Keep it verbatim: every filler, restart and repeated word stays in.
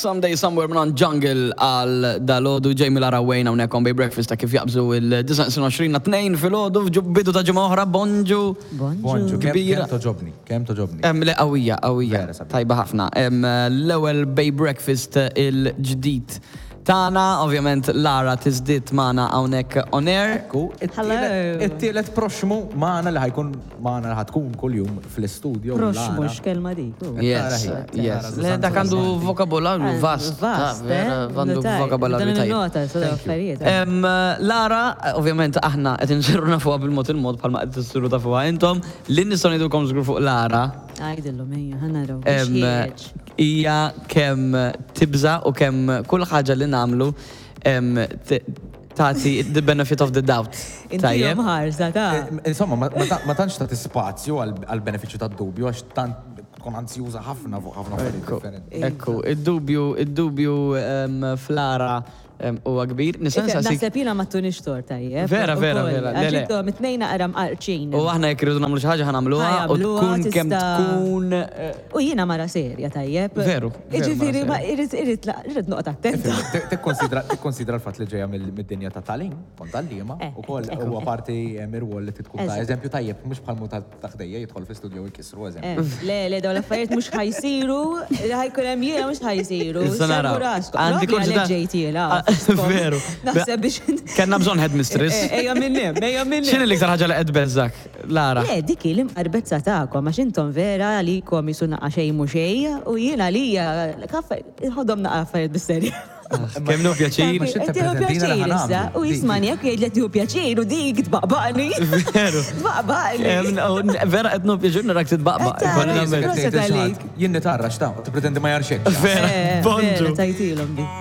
Someday Somewhere minn Jungle għal dalgħodu. Jamie, Lara, Wayne hawnhekk on Bay Breakfast ta' kif jaqbżu il-disgħa tnejn filgħodu, bidu ta' ġimgħa oħra, bonġu. Bonġu, kemm Kbira. Kemm togħġobni, kemm togħġobni. Em, le, qawwija, qawwija. Vera sabiħ. Tajba ħafna. Em, L-ewwel Bay Breakfast il-ġdid tagħna, ovvjament Lara tiżdied magħna hawnhekk on air. Ekku, Hello. it-tielet proxmu magħna li ħa jkun magħna, li ħa tkun kull-jum fl-studio. Proxmu, Lara. x'kelma dik. Oh. Yes, Tara hi. yes. Tara Le, dak għandu vokabolarju vast. Vast, Ta' vera, eh? għandu Notaj. vokabolarju Dan tajjeb. il-nota, sada affarijiet. Em, Lara, ovvjament aħna qed insiru nafuha bil-mod il-mod bħalma qed issiru tafuha intom. Li nistgħu ngħidulkom żgur fuq Lara Għajdillhom, ejja, ħa naraw. em, hija kemm tibża u kemm kull ħaġa li nagħmlu em, t- tagħti the benefit of the doubt. Inti ħarsa ta' Eh, Insomma, ma- ma ta- ma tantx tagħti spazju għal-benefiċċju tad-dubju għax tant tkun anzjuża ħafna fuq ħafna affarijiet differenti. Ekku, id-dubju, id-dubju em, f'Lara em, huwa kbir. Nista' nsaqsik- Naħseb jiena ma tunix tort tajjeb. Vera, vera, Ukoll. vera. Le, Għax le. intom it-tnejn naqra mqarċin. U aħna jekk irridu nagħmlu xi ħaġa ħa nagħmluha u Ħa jagħmluha, tkun kemm tista' tkun eh, U jiena mara serja tajjeb. Veru, veru, Iġifieri, mara ma serja. irrid irrid irrid noqgħod attenta. Tikkonsidra tikkonsidra l-fatt li ġejja mill- mid-dinja ta' tagħlim, kont għalliema, Eh, u koll eh, huwa eh. parti eh, mir-rwol li tkun ta' Eżatt. eżempju tajjeb, mhux bħal mu ta' ħdejja jidħol fi studio jkissru eżempju. Eh, Le, le, dawn l-affarijiet mhux ħa jsiru, ħa jkun hemm jiena mhux ħa jsiru. Issa naraw. Servu raskom. Għandi Propju kurżità- għalhekk ġejt jiena. Ah, veru. Naħseb biex. Kellna bżonn headmistress. Eh, Ejja minn hemm, ejja minn X'inhi l-iktar ħaġa li qed tbeżżak, Lara? Le, dik hi l-imqarbezza tagħkom, għax intom vera għalikom jisu naqa xejn mhu xejn, u jiena għalija ħodhom naqa affarijiet bis-serja. Kemm nieħu pjaċir. Ma x'inti Qed tieħu preżentina li pjaċir ħa issa, nagħmlu. u jismani jekk jgħid li tieħu pjaċir u dik tbaqbaqni. Veru. Tbaqbaqni. Em, u vera qed nieħu pjaċir narak titbaqbaq. Qed tara. Ikolli nammetti. Proset għalik. Jien nitarrax ta' tippretendi ma jarxek. Vera, Eh, bonġu. Vera, tajtilhom dik.